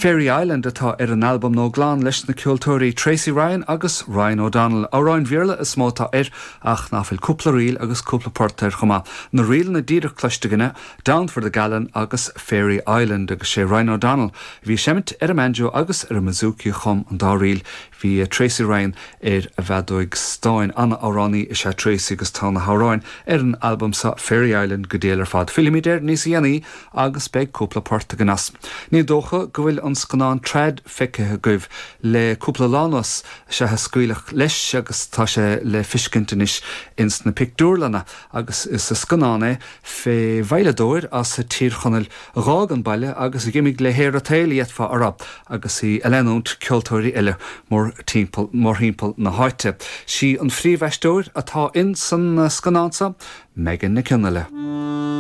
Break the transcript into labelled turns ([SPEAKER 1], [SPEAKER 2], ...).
[SPEAKER 1] Fairy Island atá ar an albam nua glan leis na ceoltóirí Tracey Ryan agus Ryan O'Donnell. Amhráin Bhéarla is mó atá air ach ná fuil cúpla ríl agus cúpla port air chomh maith. Na ríleanna díreach cloiste againne, Down for the Gallon agus Fairy Island agus sé Ryan O'Donnell a bhí ag seimint ar an mbanjo agus ar an mbouzouki a chum an dá ríl. Bhí Tracey Ryan ar an bhfeadóig stáin. Ana-amhránaí is ea Tracey agus tá na hamhráin ar an albam seo, Fairy Island, go diail ar fad. Fillfimid air níos dhéanaí agus beidh cúpla port againn as. Ní dócha go bhfuil an scannán Trad feicthe agaibh. Le cúpla lá anuas is ea a scaoileadh leis agus tá sé le fiscint anois ins na pictiúrlanna agus is scannán é fé veidhleadóir as Tír Chonaill a dh'fhág an baile agus a dh'imigh le haer an tsaoil, d'fhéadfá a rá, agus í a leanúint ceoltóirí eile mórthimpeall na háite. Sí an phríomhaisteoir atá ins an scannán seo, Megan Nic Fhionnghaile.